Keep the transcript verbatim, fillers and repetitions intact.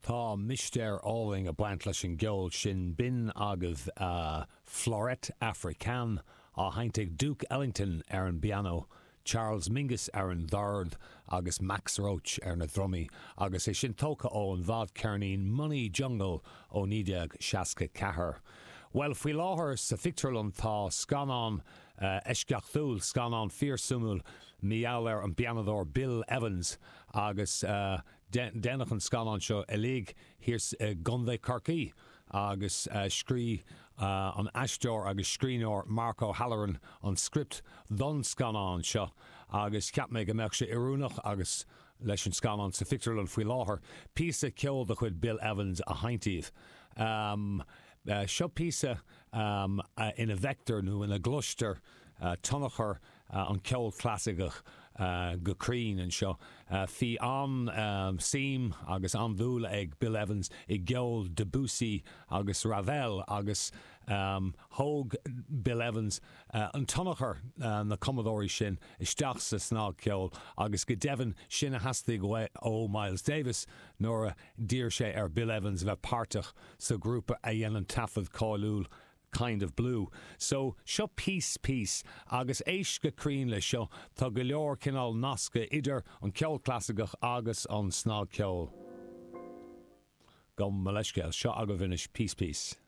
Tá mistéir álainn ag baint leis an gceol sin b'in agaibh uh, Fleurette Africaine á sheinnt ag Duke Ellington ar an bpianó, Charles Mingus ar an dord agus Max Roach ar na drumaí, agus é sin tógtha ón bhfadcheirnín Money Jungle ó naoi déag seasca ceathair. Well faoi láthair sa phictiúrlann tá scannán uh, eisceachtúil scannán fíorsuimiúil mar gheall ar an bpianadóir Bill Evans agus uh, déanadh an scannán seo uilig thiar i gContae Chorcaí agus uh, scríobh uh, an aisteoir agus scríbhneoir Mark O'Halloran an script don scannán seo agus cheap mé go mbeadh sé oiriúnach agus leis an scannán sa phictiúrlann faoi láthair píosa ceoil de chuid Bill Evans a sheinnt daoibh. Um, uh, seo píosa um, uh, ina bhfeictear nó ina gcloistear uh, tionchar uh, an ceol clasaiceach uh, go cruinn anseo. Uh, Bhí an um, suim agus an-dúil ag Bill Evans i gceol Debussy agus Ravel agus um, thóg Bill Evans uh, an tionchar uh, na cumadóirí sin isteach sa snagcheol agus go deimhin sin a theastaigh ó Miles Davis nuair a d'iarr sé ar Bill Evans bheith páirteach sa grúpa a dhein an taifead cáiliúil kind of blue. So seo Peace Piece agus éist go cruinn le seo tá go leor cineál nasca idir an ceol clasaiceach agus an snagcheol. Gabh mo leithscéal seo agaibh anois Peace Piece.